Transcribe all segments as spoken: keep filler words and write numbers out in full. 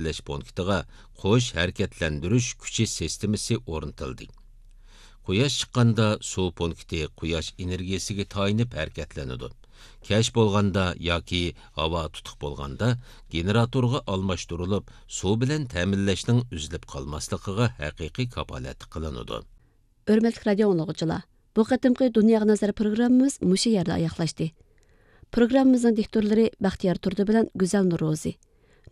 تەمىنلەش پونكىتىغا قوش ھەرىكەتلەندۈرۈش كۈچى سىستېمىسى ئورنىتىلدى. قۇياش چىققاندا سۇ پونكىتى قۇياش ئېنېرگىيەسىگە تايىنىپ ھەرىكەتلىنىدۇ. كەچ بولغاندا ياكى ھاۋا تۇتۇق بولغاندا گېنېراتورغا ئالماشتۇرۇلۇپ، سۇ بىلەن تەمىنلەشنىڭ ئۈزۈلۈپ قالماسلىقىغا ھەقىقىي كاپالەتلىك قىلىنىدۇ. ھۆرمەتلىك رادىيو ئاڭلىغۇچىلار، بۇ قېتىمقى دۇنياغا نەزەر پروگراممىمىز مۇشۇ يەردە ئاياغلاشتى. پروگراممىمىزنىڭ دىكتورلىرى بەختىيار تۇردى بىلەن گۈزەل نۇرروزى.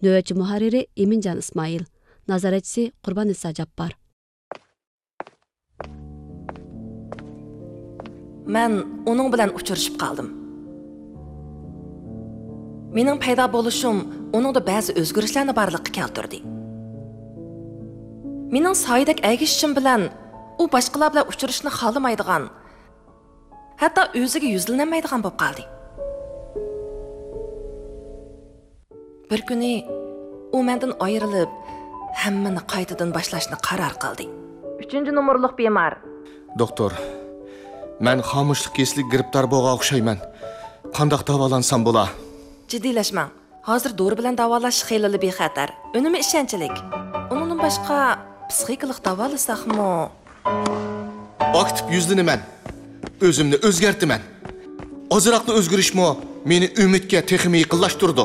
نۆۋەتچى مۇھەررىرى ئىمىنجان ئىسمائىل. نازارەتچىسى قۇرباننىسا جاپپار. مەن ئۇنىڭ بىلەن ئۇچرىشىپ قالدىم. مېنىڭ پەيدا بولۇشۇم ئۇنىڭدا بەزى ئۆزگىرىشلەرنى بارلىققا كەلتۈردى. مېنىڭ سايىدەك ئەگىشىشىم بىلەن ئۇ باشقىلار بىلەن ئۇچرىشىشنى خالىمايدىغان، ھەتتا ئۆزىگە يۈزلىنەلمەيدىغان بولۇپ قالدى. بىر كۈنى ئۇ مەندىن ئايرىلىپ، ھەممىنى قايتىدىن باشلاشنى قارار قىلدى. ئۈچىنچى نومۇرلۇق بىمار. دوختۇر، مەن خامۇشلۇق كېسىلىگە گىرىپتار بولغان ئوخشايمەن. قانداق داۋالانسام بولا؟ جىددىيلەشمەڭ. ھازىر دورا بىلەن داۋالاش خېلىلا بىخەتەر، ئۈنۈمى ئىشەنچلىك. ئۇنىڭدىن باشقا، پسىخىكىلىق داۋالىساقمۇ؟ ئاكتىپ يۈزلىنىمەن. ئۆزۈمنى ئۆزگەرتىمەن. ئازراقلا ئۆزگىرىشمۇ مېنى ئۈمىدكە تېخىمۇ يېقىنلاشتۇرىدۇ.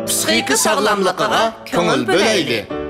پسىخىكا ساغلاملىقىغا كۆڭۈل بۆلەيلى.